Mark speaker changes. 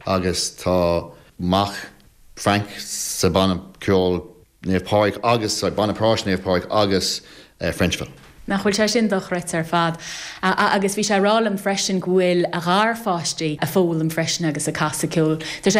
Speaker 1: Agus tá mac Frank sa banna ceoil Naomh Pádraig agus, sorry, banna práis Naomh Pádraig agus Frenchville.
Speaker 2: Nach bhfuil sé sin dochreidte ar fad. Agus bhí sé ag rá liom freisin go bhfuil a gharpháistí ag foghlaim freisin agus ag casadh ceoil. Tá sé.